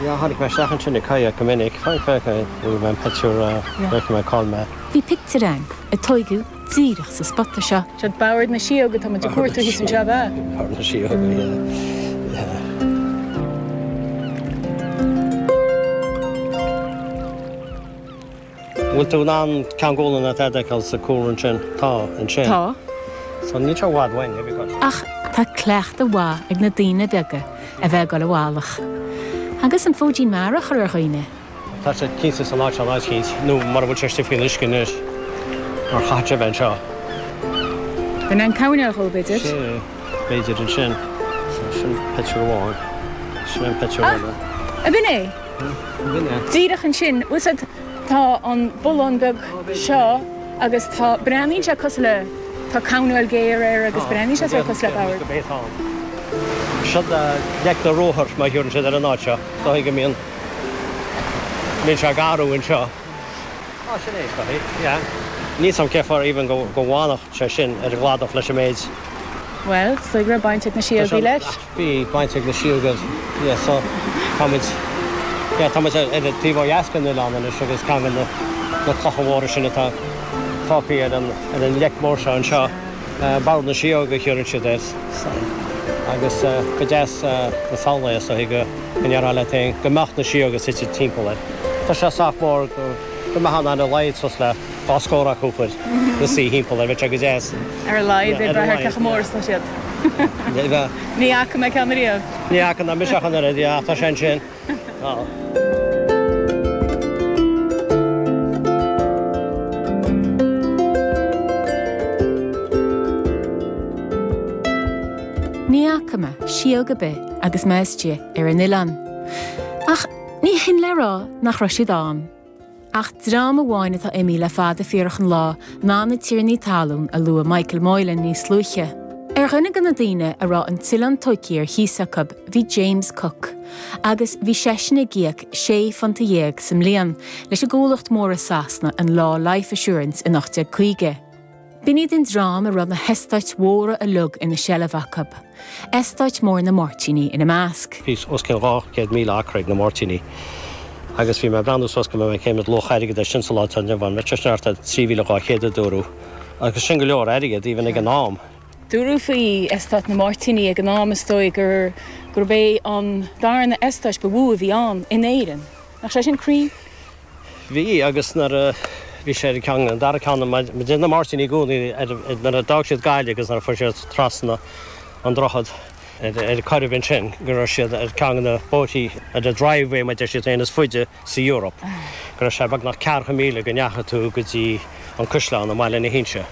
Yeah, tháinig mé isteach ansin ag kayak go minic. Féach, féach, bhfuair mé an pictiúr, féach mé cá mé. Bhí pictiúr ann a tóigeadh díreach sa spota seo. Siad Bord na Síóg atá muid ag cuartú thíos anseo, ab ea? Bord na Síóga, yeah. Yeah. Bhfuil tú in ann Ceann Gualainn atá a fheiceáil sa cúlra ansin? Tá, ansin. Tá. So níl sé i bhfad uainn, have you got? Ach tá cleachtadh mhaith ag na daoine beaga a bheith ag dul i bhfalach. Agus an fóidín mara a chur ar dhaoine. Tá sé cinnte san áit seo, an áit éicint, nó mura bhfuil sé istigh faoin uisce anois, mar chaithfeadh sé bheith anseo. B'in é an coirnéal dhó, b'fhéidir. Sin é, b'fhéidir ansin. So sin pictiúr amháin. Sin an pictiúr eile. Ah! Ab in é? B'in é. Díreach ansin, bhfuil 's a'd, tá an bullán beag seo agus tá, breathnaíonn sé cosúil le, tá coirnéal géar air agus breathnaíonn sé sórt cosúil le bord. Seo Leic na Ruathar, mar a thiúrann siad ar an áit seo. Is dóigh go mbíonn Bíonn sé ag athrú anseo. Á, sin é, is dóigh. Yeah. Níl 's a'm cé fáth even go go bhfanfadh sé sin ar an gcladach leis an méid. Bhuel, is dóigh go raibh baint ag na síogaí leis. Bhí baint ag na síogaí, yeah, so tá muid, yeah, tá muid ar an taobh ó dheas den oileán anois agus ceann de na na clocha mhóra sin atá fágtha ar an ar an leic mhór seo anseo. Bord na Síóg a thiúrann siad air agus go deas na samhlaigh is dóigh go ndéarfá leat féin go mbeadh na síóga suite timpeall air. Tá sé sách mór go mbeadh ann ar a laghad suas le dá scór acu ina suí thimpeall air, bheadh sé go deas. Ar a laghad, ag brath ar cé chomh mór is atá siad. Ní fhaca mé ceann ariamh. Ní fhaca ná mise ach an oiread, ach tá sé ansin. Ní fhaca mé síóg ar bith agus mé istigh ar an oileán. Ach ní hin le rá nach raibh siad ann. Ach dream amháin atá imithe le fada fíorach an lá ná na tiarnaí talún a luaigh Michael Moylan níos luaithe. Ar dhuine de na daoine a raibh an t-oileán tóigthe ar chíos acu bhí James Cook agus bhí seisean ag íoc sé phunta dhéag sa mbliain leis an gcomhlacht mór i Sasana an Law Life Assurance in 1850. B'in iad an dream a raibh na heastáit mhóra uilig ina seilbh acu, eastát mór na Máirtíní ina measc. Bhí os cionn 200,000 acra ag na Máirtínigh agus bhí mé ag breathnú suas go mbeidh mé cén méid luach airgid é sin sa lá atá inniu ann. Bheadh sé sin thart ar 3,200 a dúradh agus sin go leor airgid even ag an am. Dúradh faoi eastát na Máirtíní ag an am is dóigh gur gurb é an darna eastát ba mhó a bhí ann in Éirinn. Nach sé sin cruinn? Bhí, agus nuair a bhí sé ar an gceann, an dara ceann, deir na Máirtínigh i gcónaí nuair a d'fhág siad Gaillimh agus nuair a fuair siad trasna an droichead ar an Coirib ansin go raibh siad ar ceann de na bóithrí, ar an driveway mar a deir siad féin, is faide sa Eoraip, go raibh sé beagnach ceathracha míle go ndeachaigh tú go dtí an Caisleán i mBaile na hInse.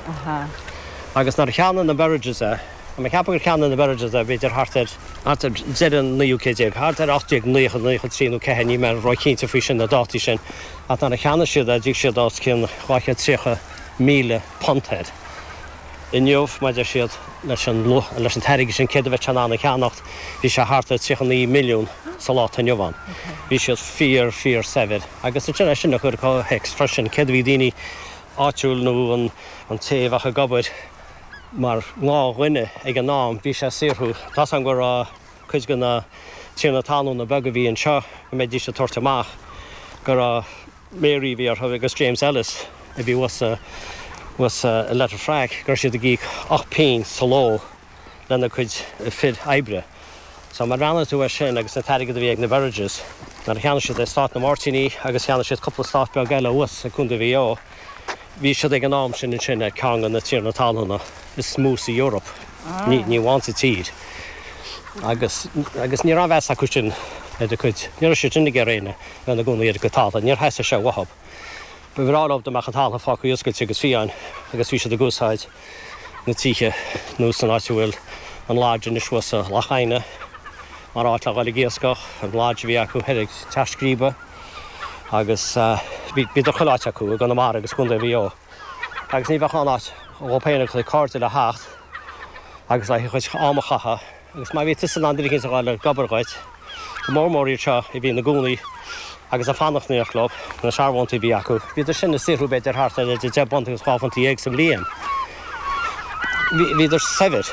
Agus nuair a cheannaigh na Berridges é, Tá mé ag ceapadh gur cheannaigh na Berridges é, b'fhéidir thart ar, thart ar deireadh an naoú céad déag, thart ar 1890, 93 nó 4, níl mé róchinnte faoi sin, na dátaí sin, ach nuair a cheannaigh siad é, d'íoc siad os cionn £230,000 air. Inniu, mar a deir siad, leis an, leis an t-airgead sin, céard a bheadh sé in ann a cheannacht, bhí sé thart ar 39 milliún sa lá atá inniu ann. Bhí siad fíor, fíor saibhir. Agus ansin é sin a chur i gcomhthéacs freisin, céard a bhí daoine áitiúil nó an, an té a bheadh ag obair, Mar ghnáthdhuine ag an am, bhí sé ag saothrú. Tá's agam go raibh cuid de na tiarnaí talúna beaga a bhí anseo, go mbeidís ag tabhairt amach go raibh Mary a bhí orthu agus James Ellis a bhí thuas thuas i Letterfrack, go raibh siad ag íoc 8 bpingin sa ló lena gcuid fir oibre. So má bhreathnaíonn tú air sin agus an t-airgead a bhí ag na Berridges nuair a cheannaigh siad eastát na Máirtíní agus cheannaigh siad cúpla eastát beag eile thuas i gContae Mhaigh Eo, Bhí siad ag an am sin ansin ar ceann de na tiarnaí talúna is mó sa Eoraip, ní amháin sa tír. Agus agus ní raibh aon mheas acu sin ar a gcuid, ní raibh siad sin ag iarraidh éinne a bheith ina gcónaí ar a gcuid talún, níor theastaigh sé uathu. Ba bhreá leo dá mbeadh an talamh fágtha oscailte agus fiáin agus bhí siad ag úsáid na tithe nó san áit a bhfuil an lodge anois thuas i Loch Adhna mar áit le dhul ag iascach, an lodge a bhí acu thoir ag Teach Scríbe. agus bhíodar chuile áit acu i gConamara agus Contae Mhaigh Eo agus ní bheadh aon áit dhóibh féin agus a gcuid cairde le theacht agus le a chuid am a chaitheamh agus má bhí tusa in ann duine éicint a fháil ag obair dhuit, go mór mór iad seo a bhí ina gcónaí agus ag fanacht in éineacht leo, na searbhóntaí a bhí acu, bhíodar sin ag saothrú b'fhéidir thart ar idir deich bpunt agus dhá phunt dhéag sa bhliain. Bhíodar saibhir.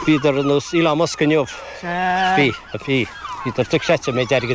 Bhíodar ar nós Elon Musk inniu. Bhí, bhí. Bhíodar dochreidte an méid airgid.